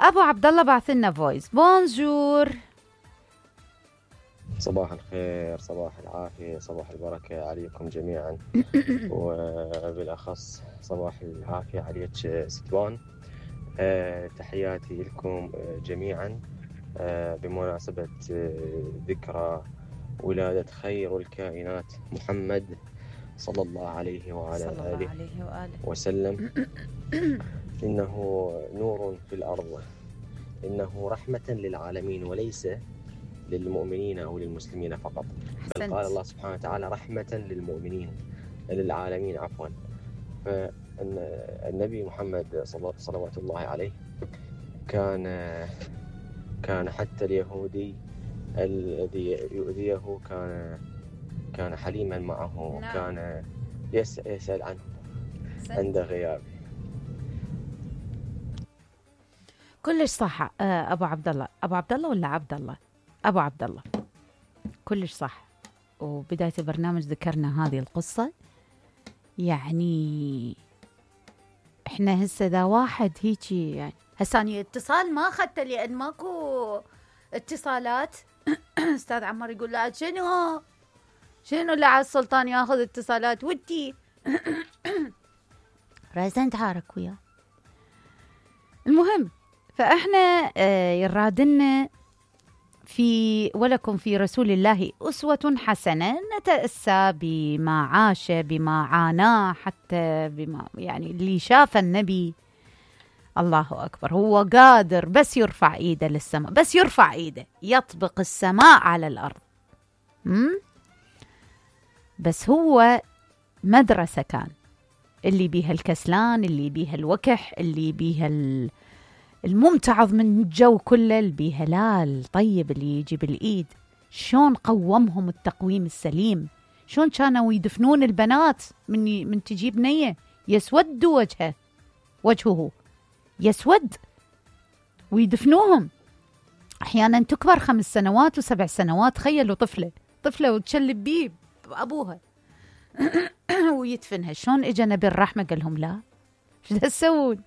ابو عبد الله بعث لنا فويس. بونجور. صباح الخير، صباح العافية، صباح البركة عليكم جميعا وبالأخص صباح العافية عليك ستوان. تحياتي لكم جميعا بمناسبة ذكرى ولادة خير الكائنات محمد صلى الله عليه وعلى آله وسلم. إنه نور في الأرض، إنه رحمة للعالمين وليس للمؤمنين أو للمسلمين فقط، بل قال الله سبحانه وتعالى رحمة للمؤمنين للعالمين عفوا. فالنبي محمد صلوات الله عليه كان حتى اليهودي الذي يؤذيه كان حليما معه. نعم. كان يسأل عنه عند غيابه. كلش صح. ابو عبد الله، ابو عبد الله ولا عبد الله؟ ابو عبد الله، كلش صح. وبداية البرنامج ذكرنا هذه القصة. يعني احنا هسه ذا واحد هيجي، يعني هساني اتصال ما اخذته لان ماكو اتصالات. استاذ عمار يقول لا شنو اللي على السلطان ياخذ اتصالات ودي. رازن تحارك وياه. المهم، فاحنا يرادلنا في ولكم في رسول الله أسوة حسنة، نتأسى بما عاش، بما عاناه، حتى بما يعني اللي شاف النبي. الله أكبر، هو قادر بس يرفع إيده للسماء، بس يرفع إيده يطبق السماء على الأرض. بس هو مدرسة كان، اللي بيها الكسلان، اللي بيها الوكح، اللي بيها الممتعض من الجو كله، اللي بيها لا الطيب اللي يجي بالإيد. شون قومهم التقويم السليم، شون كانوا يدفنون البنات من تجيب نية يسود وجهه يسود ويدفنوهم. أحيانا تكبر 5 سنوات و7 سنوات. تخيلوا طفلة وتشلب بيه أبوها ويدفنها. شون إجا نبي الرحمة قال لهم لا، شو تسوون؟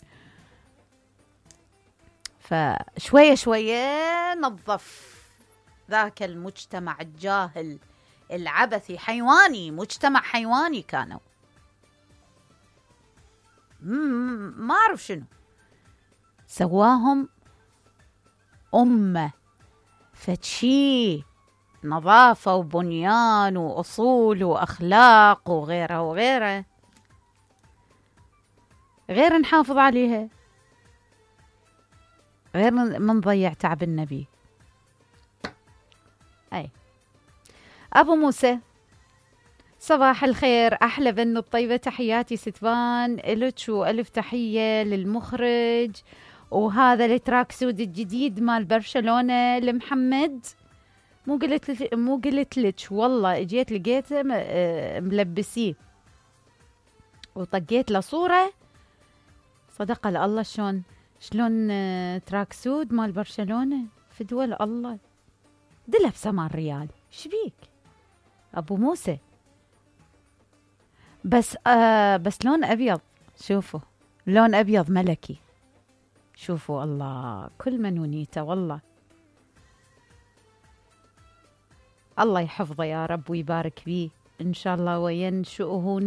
فشوية شوية نظف ذاك المجتمع الجاهل العبثي حيواني، مجتمع حيواني كانوا. ما أعرف شنو سواهم أمة فتشي نظافة وبنيان وأصول وأخلاق وغيره غير نحافظ عليها، غير من ضيع تعب النبي. أي أبو موسى، صباح الخير، أحلى بنو الطيبة، تحياتي ستفان إلك وألف تحية للمخرج. وهذا التراك سود الجديد مال برشلونة لمحمد. مو قلت لك والله، اجيت لقيته ملبسيه وطقيت له صورة. صدق الله. شلون تراك سود مال برشلونة في دول الله دلها ب8 ريال. شبيك أبو موسى؟ بس لون أبيض. شوفوا لون أبيض ملكي. شوفوا الله، كل منونيته والله. الله يحفظه يا رب ويبارك بيه إن شاء الله وينشئه